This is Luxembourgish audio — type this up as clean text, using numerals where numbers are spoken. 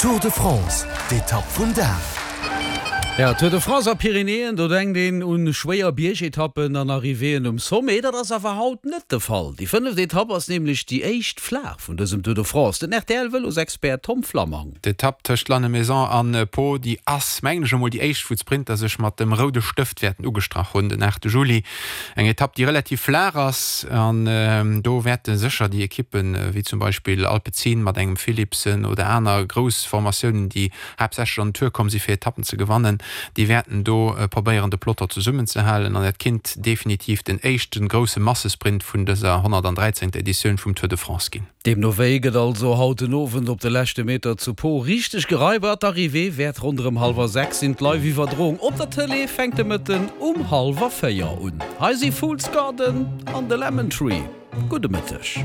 Tour de France, d'Etapp vum Dag. Ja, Tour de France a Pyrenäen, do denkt een un schwéier Biergetappen an Arrivéeën um Sommet. Dat ass awer haut net de Fall. Déi fënneft Etapp ass nämlech déi éischt flaach vun dësem Tour de France. Den RTL-Vëlosexpert Tom Flammang. D'Etapp tëscht Lannemezan an Pau, déi ass, mengen ech emol, déi éischt, wou d'Sprinter sech mat dem roude Stëft wäerten ugestrach hunn, den 8 Juli. Eng Etapp, déi relativ flaach ass an do wäerte sécher déi Ekippen, wéi zum Beispill Alpecin mat engem Philipsen oder aner grouss Formatiounen, déi haaptsächlech an den Tour komm si fir Etappen ze gewannen, déi wäerten do probéieren de Peloton zesummenzehalen an dat kinnt definitiv den éischte grousse Massesprint vun dëser 113. Editioun vum Tour de France ginn. Deemno wéi gëtt also haut den Owend op de leschte Meter zu Pau richteg geraibert. D'Arrivée wäert ronderëm hallwer 6 sinn. D'Live-Iwwerdroung op der Tëlee fänkt de Mëtten um hallwer 4 un. Hei si Fools Garden an The Lemon Tree. Gudde Mëtteg.